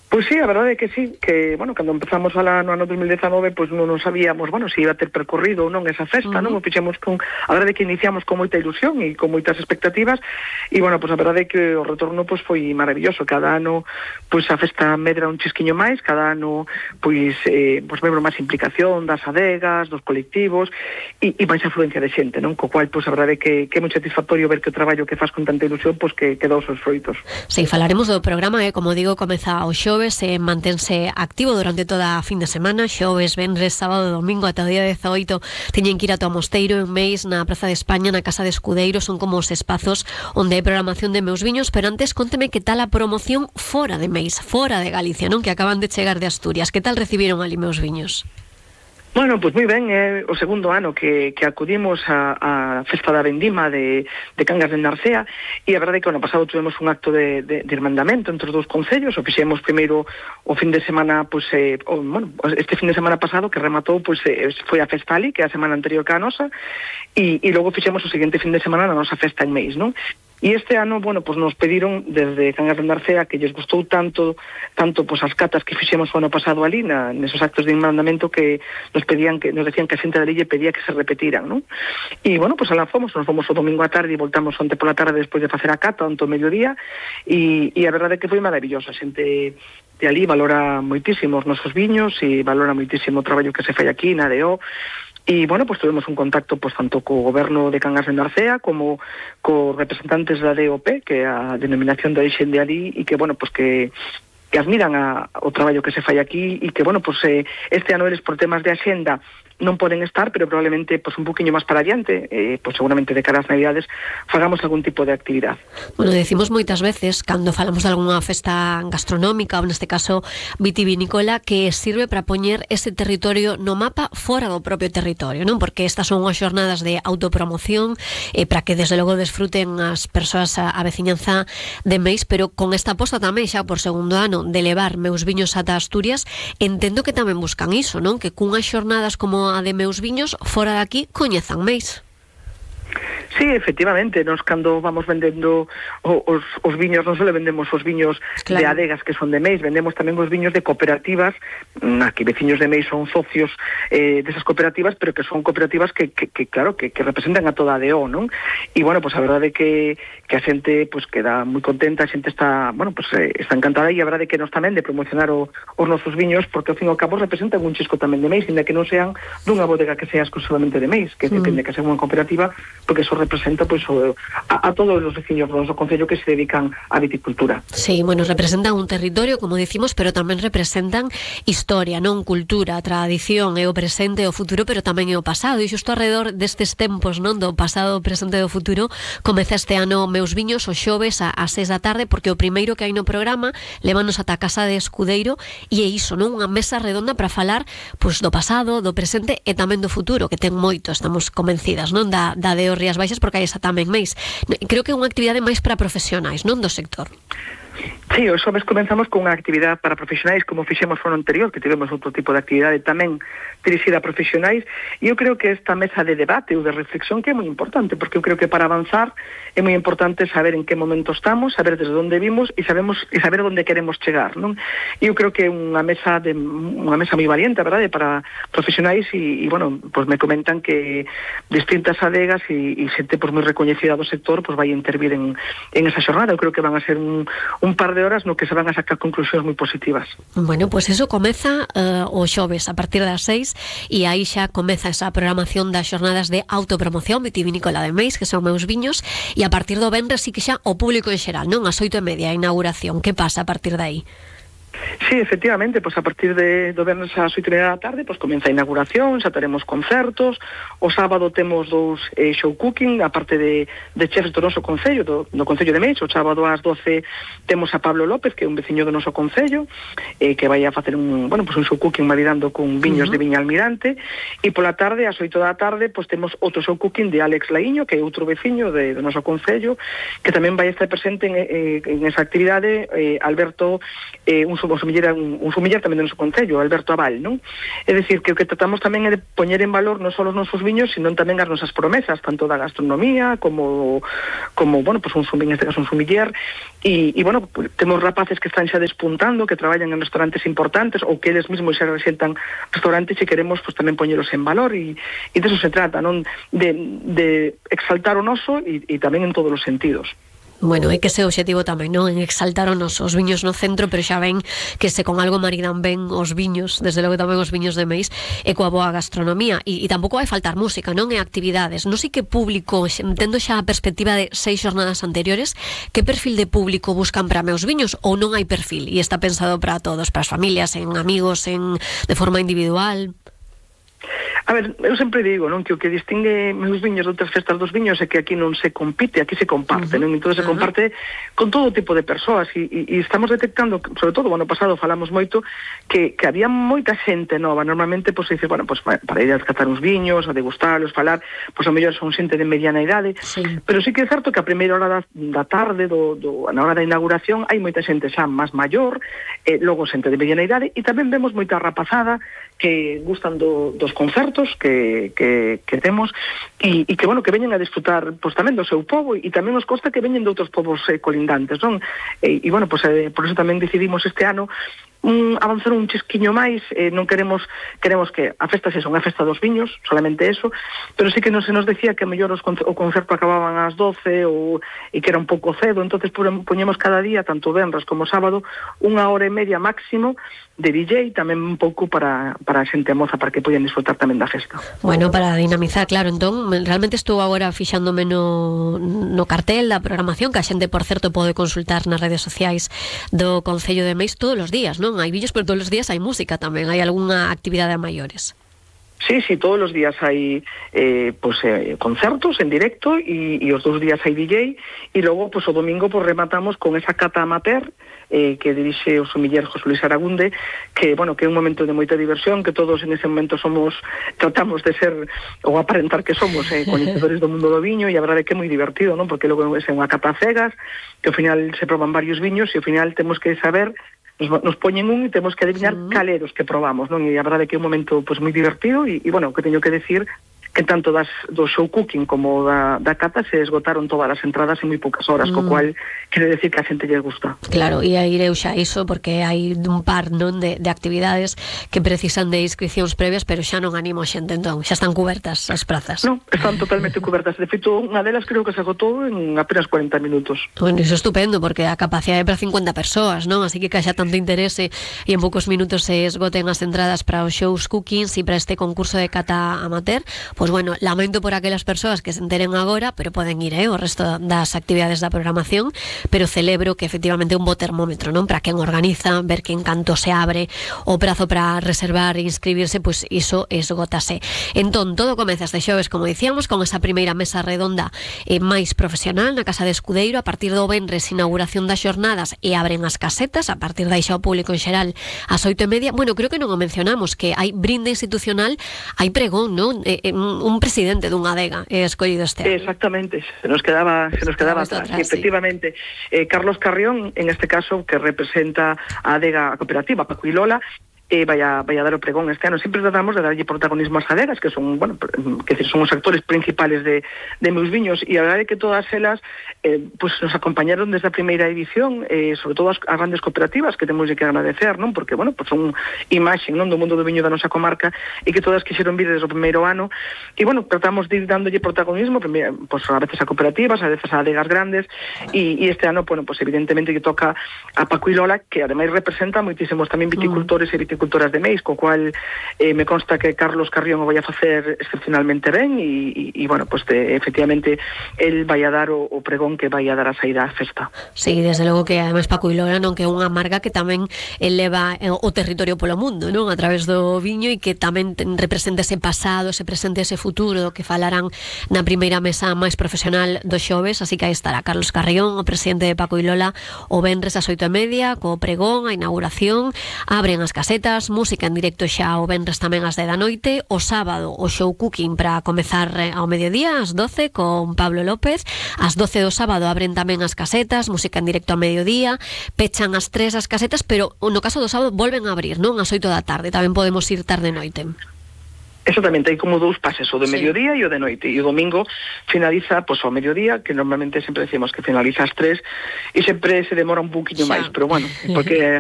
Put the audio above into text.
Pois sí, a verdade é que sí, que, bueno, cando empezamos no ano 2019, pois non sabíamos, bueno, se iba a ter percorrido ou non esa festa, non? O fixemos a verdade é que iniciamos con moita ilusión e con moitas expectativas, e, bueno, pois a verdade é que o retorno, pois, foi maravilloso. Cada ano, pois, a festa medra un chisquiño máis, cada ano, pois vemos máis implicación das adegas, dos colectivos, e máis afluencia de xente, non? Co cual, pois, a verdade é que é moi satisfactorio ver que o traballo que faz con tanta ilusión, pois, que dá os seus froitos. Sí, falaremos do programa, como digo, comeza o xoves, mantense activo durante toda a fin de semana, xoves, venres, sábado, domingo, ata o día 18, teñen que ir ata o Mosteiro, en Meis, na Praza de España, na Casa de Escudeiro, son como os espazos onde hai programación de Meus Viños, pero antes conteme que tal a promoción fora de Meis, fora de Galicia, non? Que acaban de chegar de Asturias, que tal recibiron ali Meus Viños? Bueno, pois moi ben, é o segundo ano que acudimos a festa da vendima de Cangas de Narcea, e a verdade é que o ano pasado tuvemos un acto de irmandamento entre os dous concellos. O fixemos primeiro o fin de semana, pois, este fin de semana pasado que rematou, pois, foi a festa ali, que é a semana anterior que a nosa, e logo fixemos o seguinte fin de semana na nosa festa en Meis, non? E este ano, bueno, pues nos pediron desde Cangas de Narcea que lles gustou tanto pues as catas que fixemos o ano pasado ali nesos actos de irmandamento, que nos decían que a xente da lle pedía que se repetiran, non? E, bueno, pues alá nos fomos o domingo á tarde e voltamos onte pola tarde despois de facer a cata, onte o mediodía, e a verdade é que foi maravilloso. A xente de ali valora moitísimo os nosos viños e valora moitísimo o traballo que se fai aquí na ADO. E, bueno, pues tuvemos un contacto, pues, tanto co goberno de Cangas de Narcea como co representantes da DOP, que é a denominación de origen de ali, e que, bueno, pues que admiran o traballo que se fai aquí, e que, bueno, pues este ano eles por temas de axenda non poden estar, pero probablemente pues un poquinho máis para adiante, pues seguramente de cara ás Navidades fagamos algún tipo de actividade. Bueno, decimos moitas veces cando falamos de algunha festa gastronómica, ou neste caso vitivinícola, que sirve para poñer ese territorio no mapa fora do propio territorio, non? Porque estas son unhas xornadas de autopromoción, para que desde logo desfruten as persoas a veciñanza de Meis, pero con esta aposta tamén xa por segundo ano de levar Meus Viños ata Asturias, entendo que tamén buscan iso, non? Que cunhas xornadas como a de Meus Viños, fora de aquí, coñezan Meis. Sí, efectivamente, nos cando vamos vendendo os viños, non só vendemos os viños, claro, de adegas que son de Meis, vendemos tamén os viños de cooperativas, aquí veciños de Meis son socios desas cooperativas, pero que son cooperativas que claro, que representan a toda a ADO, non? E, bueno, pues a verdade é que a xente pues queda moi contenta, a xente está, bueno, pues está encantada, e a verdade é que nos tamén de promocionar os nosos viños, porque ao fin e ao cabo representan un chisco tamén de Meis, ainda que non sean dunha bodega que sea exclusivamente de Meis, que depende que sea unha cooperativa, porque eso representa pues a todos os veciños do noso concello que se dedican á viticultura. Sí, bueno, representan un territorio, como dicimos, pero tamén representan historia, non? Cultura, tradición, é o presente e o futuro, pero tamén é o pasado, e xusto alrededor destes tempos, non? Do pasado, presente e do futuro, comeza este ano Meus Viños, o xoves ás 6 da tarde, porque o primeiro que hai no programa levanos ata a Casa de Escudeiro, e é iso, non? Unha mesa redonda para falar pues do pasado, do presente e tamén do futuro, que ten moito, estamos convencidas, non? Da de Rías Baixas, porque hai esa tamén Meis. Creo que é unha actividade máis para profesionais, non, do sector. Sí, o xoves comenzamos con unha actividade para profesionais, como fixemos no ano anterior, que tivemos outro tipo de actividade tamén dirixida a profesionais, e eu creo que esta mesa de debate ou de reflexión que é moi importante, porque eu creo que para avanzar é moi importante saber en que momento estamos, saber desde onde vimos e saber onde queremos chegar, non? E eu creo que é unha mesa moi valiente, a verdade, para profesionais, e bueno, pues me comentan que distintas adegas e xente pues moi recoñecida do sector pues vai intervir en esa xornada. Eu creo que van a ser un par de horas no que se van a sacar conclusións moi positivas. Bueno, pues eso comeza o xoves a partir das 6, e aí xa comeza esa programación das xornadas de autopromoción vitivinícola de Meis, que son Meus Viños, e a partir do venres sí que xa o público en xeral, non? As 8:30 a inauguración. Que pasa a partir de aí? Sí, efectivamente, pues a partir do venres ás 8:30 da tarde pues comeza a inauguración, xa teremos concertos. O sábado temos dous show cooking, a parte de chefs do noso concello, do concello de Meis. O sábado ás 12 temos a Pablo López, que é un veciño do noso concello, que vai a facer un show cooking maridando con viños de Viña Almirante, e pola tarde, ás 8 da tarde, pues temos outro show cooking de Alex Laíño, que é outro veciño do noso concello, que tamén vai estar presente en esa actividade. Alberto, un sumiller un sumiller tamén do noso concello, Alberto Aval, non? É dicir, que o que tratamos tamén é de poñer en valor non só os nosos viños, sino tamén as nosas promesas, tanto da gastronomía como bueno, pues un sumiller, e bueno, pues, temos rapaces que están xa despuntando, que traballan en restaurantes importantes, ou que eles mesmos xa resentan restaurantes, e queremos pues tamén poñelos en valor, e de eso se trata, non? De exaltar o noso e tamén en todos os sentidos. Bueno, é que ese objetivo tamén, non? En exaltar os viños no centro, pero xa ven que se con algo maridan ben os viños, desde logo tamén os viños de Meis, e coa boa gastronomía, e tampouco vai faltar música, non? E actividades. Non sei que público, tendo xa a perspectiva de 6 xornadas anteriores, que perfil de público buscan para meus viños, ou non hai perfil, e está pensado para todos, para as familias, en amigos, de forma individual? A ver, eu sempre digo, non, que o que distingue meus viños de outras festas dos viños é que aquí non se compite, aquí se comparte, non? Entón se comparte con todo tipo de persoas e estamos detectando, sobre todo o ano pasado falamos moito que había moita xente nova. Normalmente, pois, dice, bueno, pois para ir a descatar uns viños, a degustarlos, falar, pois a mellor son xente de mediana idade, pero sí que é certo que a primeira hora da tarde, na hora da inauguración, hai moita xente xa máis maior, logo xente de mediana idade, e tamén vemos moita rapazada que gustan dos concertos que temos e que, bueno, que veñen a disfrutar pois tamén do seu pobo, e tamén nos consta que veñen de outros povos colindantes, non? E bueno, pois por eso tamén decidimos este ano avanzar un chisquiño máis. Non queremos que a festa sexa unha festa dos viños, solamente eso, pero sí que se nos decía que a mellor o concerto acababan ás 12 e que era un pouco cedo, entonces poñemos cada día, tanto venres como sábado, 1 hora e media máximo de DJ, tamén un pouco para a xente moza, para que poden disfrutar tamén da festa. Bueno, para dinamizar, claro. Entón, realmente estou agora fixándome no cartel da programación, que a xente, por certo, pode consultar nas redes sociais do Concello de Meis todos os días, non? Hai vídeos, pero todos os días hai música tamén, hai algunha actividade a maiores. Sí, todos os días hai concertos en directo e os 2 días hai DJ, e logo o domingo rematamos con esa cata amateur que dirixe o sumiller José Luis Aragunde, que, bueno, que é un momento de moita diversión, que todos en ese momento tratamos de ser, ou aparentar que somos coñecedores do mundo do viño, e a verdade é que é moi divertido, non? Porque logo é unha cata cegas, que ao final se proban varios viños, e ao final temos que saber, nos poñen e temos que adivinar caleros que probamos, non? E a verdade é que é un momento moi divertido, e bueno, que teño que decir que tanto do show cooking como da cata se esgotaron todas as entradas en moi poucas horas, co cual quere decir que a xente lle gusta. Claro, e aí ireu xa iso, porque hai un par, non, de actividades que precisan de inscripcións previas, pero xa non animo a xente, entón, xa están cubertas as prazas. Non, están totalmente cubertas. De feito, unha delas creo que se agotou en apenas 40 minutos. Bueno, iso é estupendo, porque a capacidade é para 50 persoas, non? Así que xa tanto interese e en poucos minutos se esgoten as entradas para os shows cookings e para este concurso de cata amateur, pois bueno, lamento por aquelas persoas que se enteren agora, pero poden ir o resto das actividades da programación, pero celebro que efectivamente é un bo termómetro, non? Para quen organiza, ver que en canto se abre o prazo para reservar e inscribirse, pois iso esgótase. Entón, todo comeza este xoves, como dicíamos, con esa primeira mesa redonda máis profesional na Casa de Escudeiro. A partir do venres, inauguración das xornadas e abren as casetas, a partir dai xa o público en xeral ás 8:30. Bueno, creo que non o mencionamos, que hai brinde institucional, hai pregón, non? Un presidente dunha adega escollido este ano. Exactamente, se nos quedaba atrás. Efectivamente, Carlos Carrión, en este caso, que representa a adega cooperativa Paco y Lola, vai a dar o pregón este ano. Sempre tratamos de darlle protagonismo ás adegas, que son, bueno, que son os actores principales de meus viños, e a verdade é que todas elas nos acompañaron desde a primeira edición, sobre todo as grandes cooperativas, que temos que agradecer, non? Porque, bueno, son imaxe, non, do mundo do viño da nosa comarca, e que todas quixeron vir desde o primeiro ano, e, bueno, tratamos de ir dándolle protagonismo, a veces a cooperativas, a veces a adegas grandes, e este ano, bueno, evidentemente que toca a Paco y Lola, que ademais representa moitísimos tamén viticultores e viticultoras de Meis, co cual me consta que Carlos Carrión o vai a facer excepcionalmente ben, e bueno, efectivamente el vai a dar o pregón que vai a dar a saída á festa. Sí, desde logo que ademais Paco y Lola, non, que é unha marca que tamén eleva o territorio polo mundo, non, a través do viño, e que tamén representa ese pasado, ese presente, ese futuro, do que falarán na primeira mesa máis profesional do xoves. Así que aí estará Carlos Carrión, o presidente de Paco y Lola, o venres ás 8:30, co pregón, a inauguración, abren as casetas, casetas, música en directo xa o venres tamén ás 10 da noite, o sábado o show cooking para comezar ao mediodía ás 12 con Pablo López, ás 12 do sábado abren tamén as casetas, música en directo ao mediodía, pechan ás 3 as casetas, pero no caso do sábado volven a abrir, non? Ás 8 da tarde, tamén podemos ir tarde noite. Exactamente, hai como dous pases, o de mediodía e o de noite, e o domingo finaliza ao mediodía, que normalmente sempre decimos que finaliza ás 3, e sempre se demora un poquinho máis, pero bueno, porque as